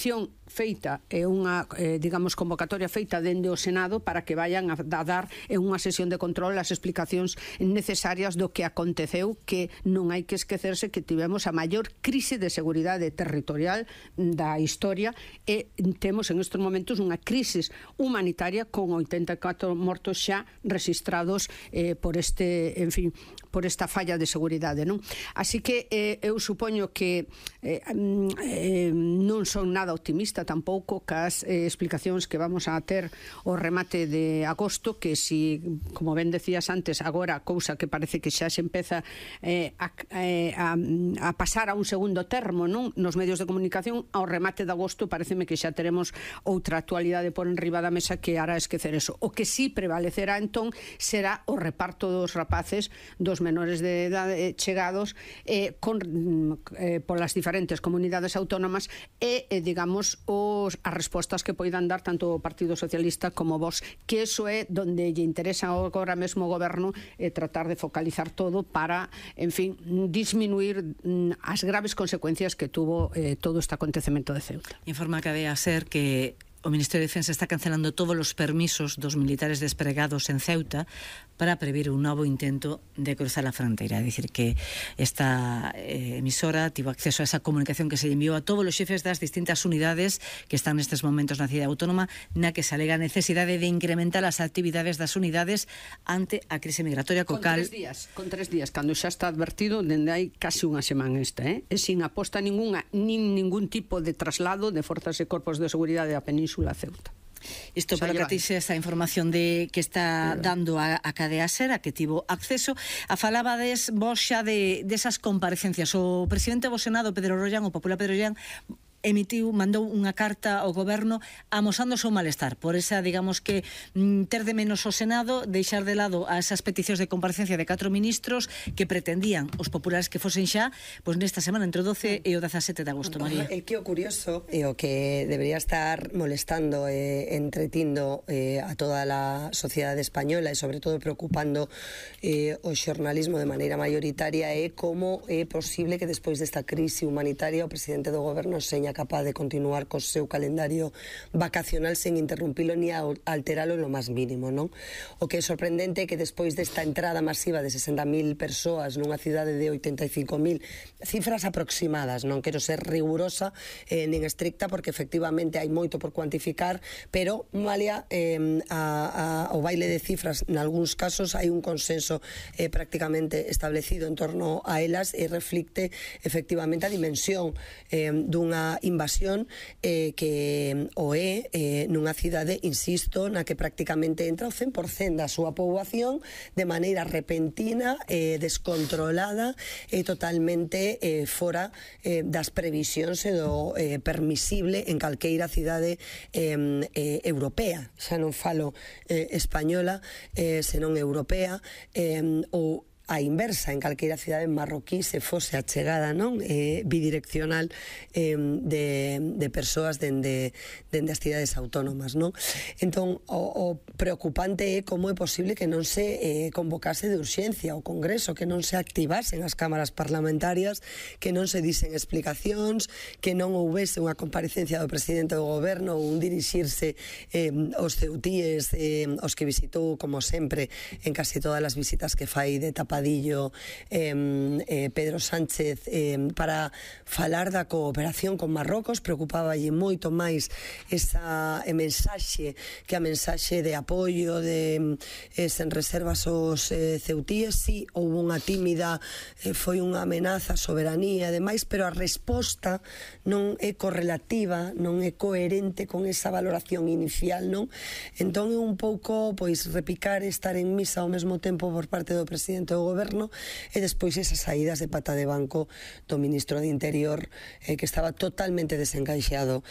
petición feita e unha, digamos, convocatoria feita dende o Senado para que vayan a dar en unha sesión de control as explicacións necesarias do que aconteceu, que non hai que esquecerse que tivemos a maior crise de seguridade territorial da historia e temos en estes momentos unha crise humanitaria con 84 mortos xa registrados por este, en fin, por esta falla de seguridade, non? Así que eu supoño que non son nada optimista tampouco cas explicacións que vamos a ter o remate de agosto, que si, como ben decías antes, agora cousa que parece que xa se empeza a pasar a un segundo termo, non? Nos medios de comunicación, ao remate de agosto pareceme que xa teremos outra actualidade por enriba da mesa que hará esquecer eso. O que sí prevalecerá entón será o reparto dos rapaces, dos menores de edade chegados polas diferentes comunidades autónomas e, digamos, as respostas que poidan dar tanto o Partido Socialista como vos, que eso é donde lle interesa agora mesmo o goberno, tratar de focalizar todo para, en fin, disminuir as graves consecuencias que tuvo todo este acontecemento de Ceuta. Informa que debe ser que o Ministerio de Defensa está cancelando todos os permisos dos militares despregados en Ceuta para prever un novo intento de cruzar a fronteira. É dicir, que esta emisora tivo acceso a esa comunicación que se enviou a todos os xefes das distintas unidades que están nestes momentos na cidade autónoma, na que se alega a necesidade de incrementar as actividades das unidades ante a crise migratoria co cal... Con 3 días, cando xa está advertido dende hai casi unha semana esta, e sin aposta ninguna, nin ningún tipo de traslado de forzas e corpos de seguridade a Península Ceuta. Isto para que tixe esa información de que está dando a Cadea Ser, a que tivo acceso. A falabades vos xa desas comparecencias. O presidente do Senado, Pedro Rollán, o popular Pedro Rollán, mandou unha carta ao goberno amosando o seu malestar por esa, digamos que, ter de menos o Senado, deixar de lado a esas peticións de comparecencia de 4 ministros que pretendían os populares que fosen xa, pois nesta semana entre o 12 e o 17 de agosto, María. É que o curioso e o que debería estar molestando e entretindo a toda a sociedade española e sobre todo preocupando o xornalismo de maneira mayoritaria é como é posible que despois desta crise humanitaria o presidente do goberno seña capaz de continuar co seu calendario vacacional sen interrumpilo ni alteralo lo máis mínimo, non? O que é sorprendente é que despois desta entrada masiva de 60.000 persoas nunha cidade de 85.000, cifras aproximadas, non quero ser rigurosa nin estricta porque efectivamente hai moito por cuantificar, pero Malia, o baile de cifras nalgúns casos hai un consenso prácticamente establecido en torno a elas e reflicte efectivamente a dimensión dunha invasión que o é nunha cidade, insisto, na que prácticamente entra o 100% da súa poboación de maneira repentina, descontrolada e totalmente fora das previsións e do permisible en calqueira cidade europea. Xa non falo española, senón europea, ou a inversa en calqueira cidade marroquí se fose a chegada, non, bidireccional de persoas dende as cidades autónomas, non? Entón, o preocupante é como é posible que non se convocase de urxencia o Congreso, que non se activasen as cámaras parlamentarias, que non se disen explicacións, que non houvese unha comparecencia do presidente do goberno ou un dirixirse aos ceutíes, os que visitou, como sempre, en casi todas as visitas que fai de tapadillo Pedro Sánchez para falar da cooperación con Marrocos. Preocupáballe moito máis esa mensaxe que a mensaxe de apoio de sen reservas aos ceutíes. Si houve unha tímida, foi unha amenaza á soberanía e demais, pero a resposta non é correlativa, non é coherente con esa valoración inicial, non? Entón é un pouco, pois, repicar e estar en misa ao mesmo tempo por parte do presidente do goberno e despois esas saídas de pata de banco do ministro de Interior que estaba totalmente desencaixado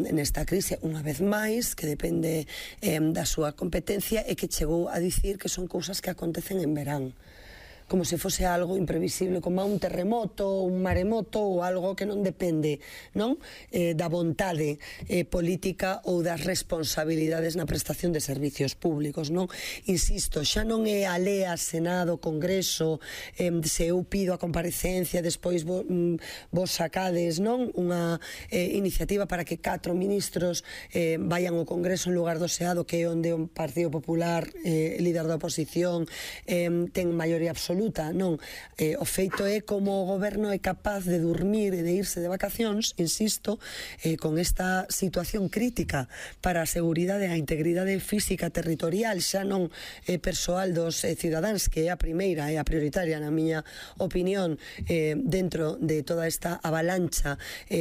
nesta crise, unha vez máis, que depende da súa competencia e que chegou a dicir que son cousas que acontecen en verán. como se fose algo imprevisible, como un terremoto, un maremoto ou algo que non depende, non? Da vontade política ou das responsabilidades na prestación de servicios públicos, non? Insisto, xa non é a lea, Senado, Congreso, se eu pido a comparecencia, despois vos sacades, non? Unha iniciativa para que 4 ministros vayan ao Congreso en lugar do Senado, que é onde o Partido Popular, líder da oposición, ten maioría absoluta, non? O feito é como o goberno é capaz de dormir e de irse de vacacións, insisto, con esta situación crítica para a seguridade e a integridade física territorial, xa non persoal dos cidadáns, que é a primeira e a prioritaria, na miña opinión, dentro de toda esta avalancha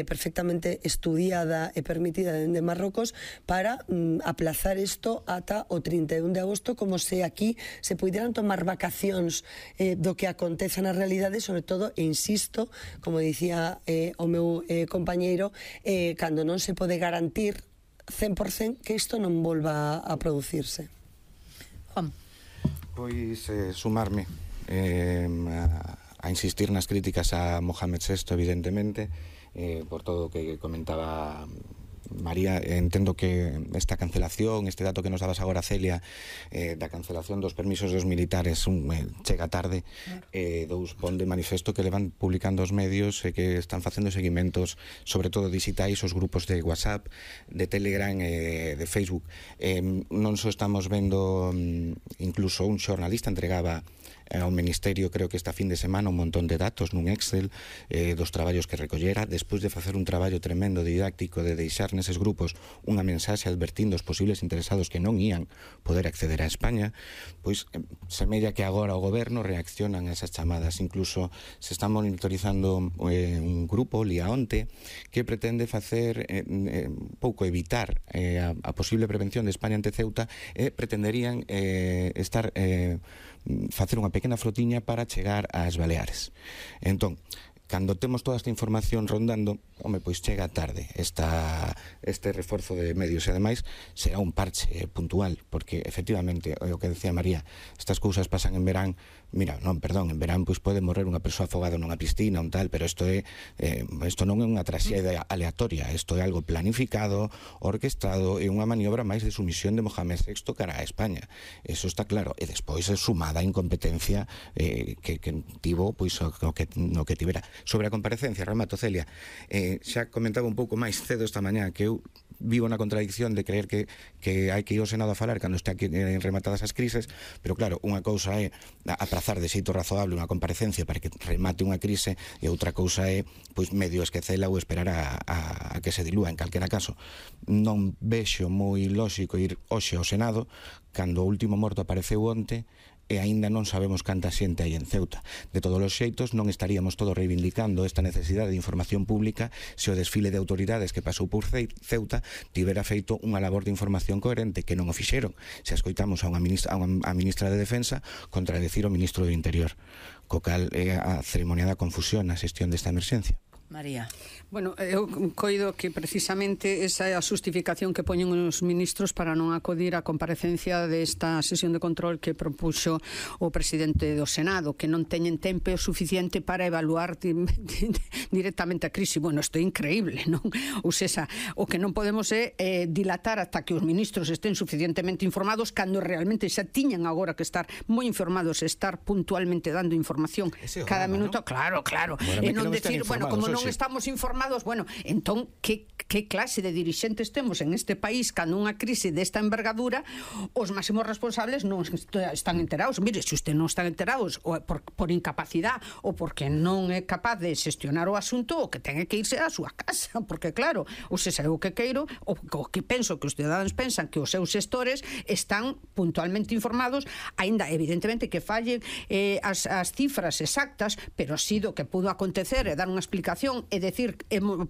perfectamente estudiada e permitida dende Marrocos, para aplazar isto ata o 31 de agosto, como se aquí se puderan tomar vacacións do que acontece na realidade, sobre todo, e insisto, como dicía o meu compañeiro, cando non se pode garantir 100% que isto non volva a producirse. Juan. Pois sumarme a insistir nas críticas a Mohamed VI, evidentemente, por todo o que comentaba María. Entendo que esta cancelación, este dato que nos dabas agora, Celia, da cancelación dos permisos dos militares chega tarde, pon de manifesto que levan publicando os medios e que están facendo seguimentos, sobre todo digitais, os grupos de WhatsApp, de Telegram, de Facebook. Non só estamos vendo, incluso un xornalista entregaba ao Ministerio, creo que esta fin de semana, un montón de datos nun Excel dos traballos que recollera, despois de facer un traballo tremendo didáctico de deixar neses grupos unha mensaxe advertindo os posibles interesados que non ían poder acceder a España. Pois semella que agora o goberno reaccionan a esas chamadas. Incluso se está monitorizando un grupo, Liaonte, que pretende facer pouco evitar a posible prevención de España ante Ceuta, e pretenderían facer unha pequena flotiña para chegar ás Baleares. Entón, cando temos toda esta información rondando, pois chega tarde este reforzo de medios, e ademais será un parche puntual, porque efectivamente, o que decía María, estas cousas pasan en verán. Mira, non, perdón, en verán pois pode morrer unha persoa afogada nunha piscina, un tal, pero isto non é unha traxedia aleatoria, isto é algo planificado, orquestado, e unha maniobra máis de sumisión de Mohamed VI cara a España. Eso está claro, e despois é sumada a incompetencia que tivo pois no que tivera. Sobre a comparecencia, remato, Celia, xa comentaba un pouco máis cedo esta mañá que eu vivo na contradicción de creer que hai que ir ao Senado a falar cando este aquí rematadas as crises, pero claro, unha cousa é aprazar de xeito razoable unha comparecencia para que remate unha crise, e outra cousa é pois medio esquecela ou esperar a que se dilúa. En calquera caso, non vexo moi lóxico ir hoxe ao Senado cando o último morto apareceu onte e aínda non sabemos canta xente hai en Ceuta. De todos os xeitos, non estaríamos todos reivindicando esta necesidade de información pública se o desfile de autoridades que pasou por Ceuta tivera feito unha labor de información coherente, que non o fixeron. Se escoitamos a ministra de Defensa contradecir o ministro do Interior, co cal é a ceremoniada confusión na xestión desta emerxencia. María. Bueno, eu coido que precisamente esa é a justificación que poñen os ministros para non acudir á comparecencia desta sesión de control que propuxo o presidente do Senado, que non teñen tempo suficiente para evaluar directamente a crise. Bueno, isto é increíble, non? Ou seja, o que non podemos é dilatar ata que os ministros estén suficientemente informados, cando realmente xa tiñan agora que estar moi informados e estar puntualmente dando información cada minuto. ¿No? Claro. E non decir, bueno, como non estamos informados, bueno, entón, que clase de dirixentes temos en este país cando unha crise desta envergadura os máximos responsables non están enterados? Mire, se usted non están enterados ou por incapacidade ou porque non é capaz de xestionar o asunto, o que ten que irse á súa casa, porque claro, ou se sabe o que queiro, o que penso que os ciudadanos pensan que os seus xestores están puntualmente informados, aínda evidentemente que fallen as cifras exactas, pero si do que pudo acontecer e dar unha explicación información e decir,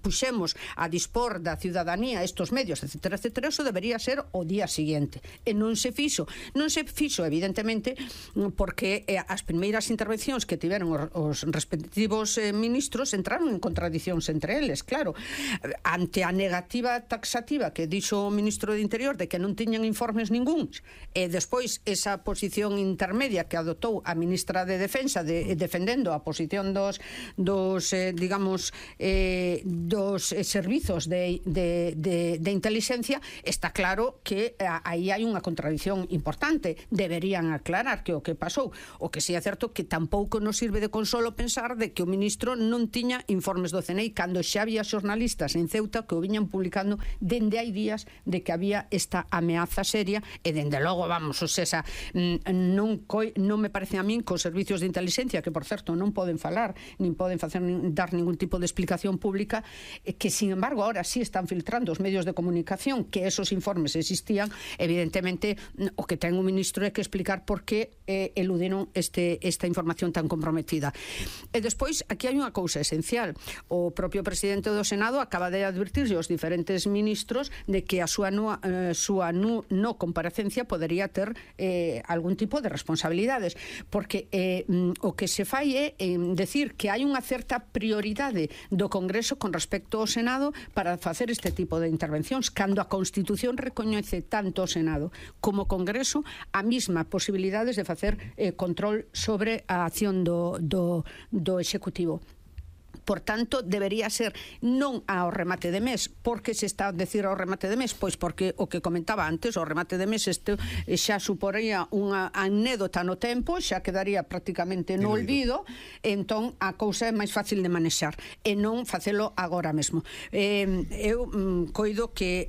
puxemos a dispor da ciudadanía estos medios, etcétera, etcétera, eso debería ser o día siguiente. E non se fixo, evidentemente, porque as primeiras intervencións que tiveron os respectivos ministros entraron en contradicións entre eles, claro. Ante a negativa taxativa que dixo o ministro de Interior de que non tiñan informes ningúns, e despois esa posición intermedia que adoptou a ministra de Defensa defendendo a posición dos servizos de inteligencia, está claro que aí hai unha contradición importante. Deberían aclarar que o que pasou. O que si é certo que tampouco nos sirve de consolo pensar de que o ministro non tiña informes do CNI cando xa había xornalistas en Ceuta que o viñan publicando dende hai días de que había esta ameaza seria e dende logo, vamos, o sea, non me parece a min que os servicios de inteligencia, que por certo non poden falar, nin poden dar ningún tipo de explicación pública, que sin embargo ahora sí están filtrando os medios de comunicación que esos informes existían, evidentemente o que ten o ministro é que explicar por que eludiron esta información tan comprometida. E despois, aquí hai unha cousa esencial. O propio presidente do Senado acaba de advertirse aos diferentes ministros de que a súa no comparecencia podería ter algún tipo de responsabilidades, porque o que se fai é decir que hai unha certa prioridade do Congreso con respecto ao Senado para facer este tipo de intervencións, cando a Constitución recoñece tanto o Senado como o Congreso a mesma posibilidades de facer control sobre a acción do Executivo. Por tanto, debería ser non ao remate de mes. Por que se está a decir ao remate de mes? Pois porque o que comentaba antes, o remate de mes xa suporía unha anécdota no tempo, xa quedaría prácticamente no olvido, entón a cousa é máis fácil de manexar e non facelo agora mesmo. Eu coido que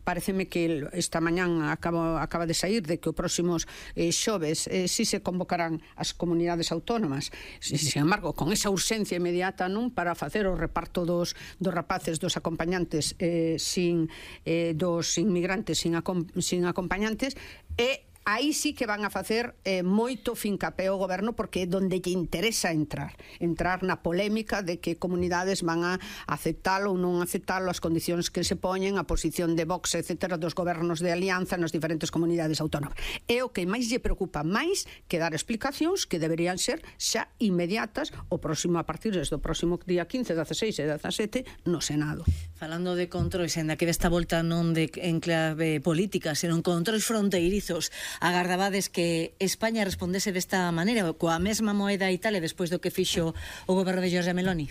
pareceme que esta mañán acaba de sair de que os próximos xoves si se convocarán as comunidades autónomas. Sin embargo, con esa urxencia inmediata, non, para facer o reparto dos rapaces, dos acompañantes dos inmigrantes sin acompañantes, e aí sí que van a facer moito fincapé o goberno, porque é donde lle interesa entrar na polémica de que comunidades van a aceptalo ou non aceptalo, as condicións que se poñen, a posición de Vox, etcétera, dos gobernos de alianza nas diferentes comunidades autónomas. É o que máis lle preocupa, máis que dar explicacións que deberían ser xa inmediatas a partir do próximo día 15, 16 e 17 no Senado. Falando de controis, en que desta volta non de enclave política, senón controis fronteirizos, agardabades que España respondese desta maneira, coa mesma moeda Italia, despois do que fixo o goberno de Giorgia Meloni?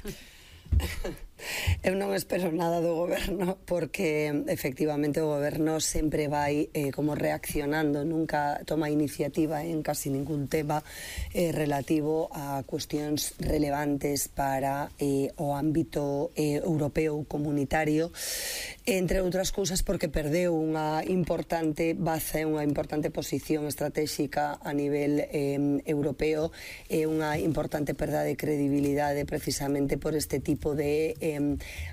Eu non espero nada do goberno, porque efectivamente o goberno sempre vai como reaccionando, nunca toma iniciativa en casi ningún tema relativo a cuestións relevantes para o ámbito europeo comunitario, entre outras cousas porque perdeu unha importante baza, unha importante posición estratégica a nivel europeo, e unha importante perda de credibilidade precisamente por este tipo de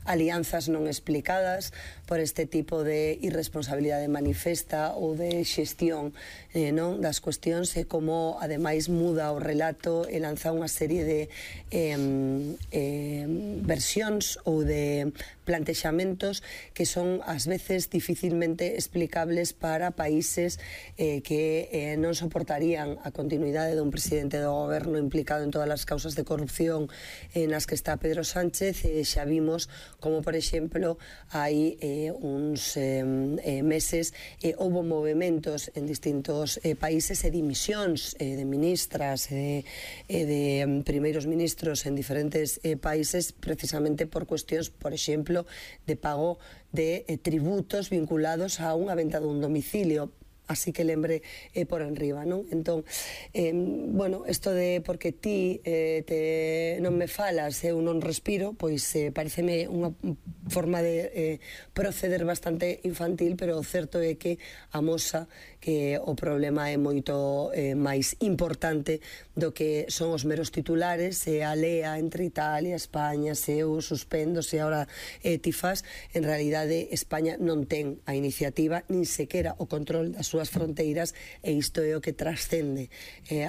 alianzas non explicadas, por este tipo de irresponsabilidade manifesta ou de xestión non das cuestións, e como ademais muda o relato e lanza unha serie de versións ou de plantexamentos que son ás veces dificilmente explicables para países que non soportarían a continuidade dun presidente do goberno implicado en todas as causas de corrupción nas que está Pedro Sánchez. Xa vimos como, por exemplo, hai uns meses houbo movementos en distintos países e dimisións de ministras e de primeiros ministros en diferentes países precisamente por cuestións, por exemplo, de pago de tributos vinculados a unha venta dun domicilio. Así que lembre por enriba, non? Entón, bueno, isto de porque ti non me falas, eu non respiro, pois pareceme unha forma de proceder bastante infantil, pero o certo é que amosa que o problema é moito máis importante do que son os meros titulares, se a lea entre Italia, España, se eu suspendo, se ahora ti fas. En realidade, España non ten a iniciativa, nin sequera o control da súa súas fronteiras, e isto é o que trascende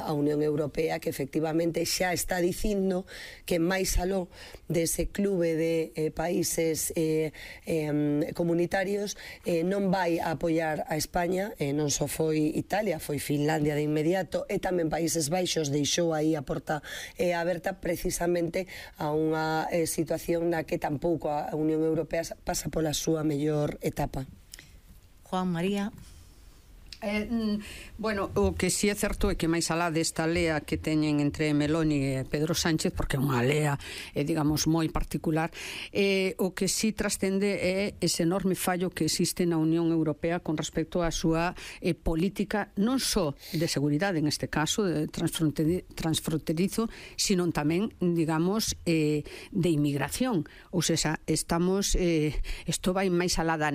a Unión Europea, que efectivamente xa está dicindo que máis aló dese clube de países comunitarios non vai a apoiar a España, non só foi Italia, foi Finlandia de inmediato, e tamén Países Baixos deixou aí a porta aberta precisamente a unha situación na que tampouco a Unión Europea pasa pola súa mellor etapa. Juan María. Bueno, o que si é certo é que máis alá desta lea que teñen entre Meloni e Pedro Sánchez, porque é unha lea, digamos, moi particular, o que si trascende é ese enorme fallo que existe na Unión Europea con respecto á súa política, non só de seguridade, en este caso, de transfronterizo, sino tamén, digamos, de inmigración. Ou seja, estamos, isto vai máis alá da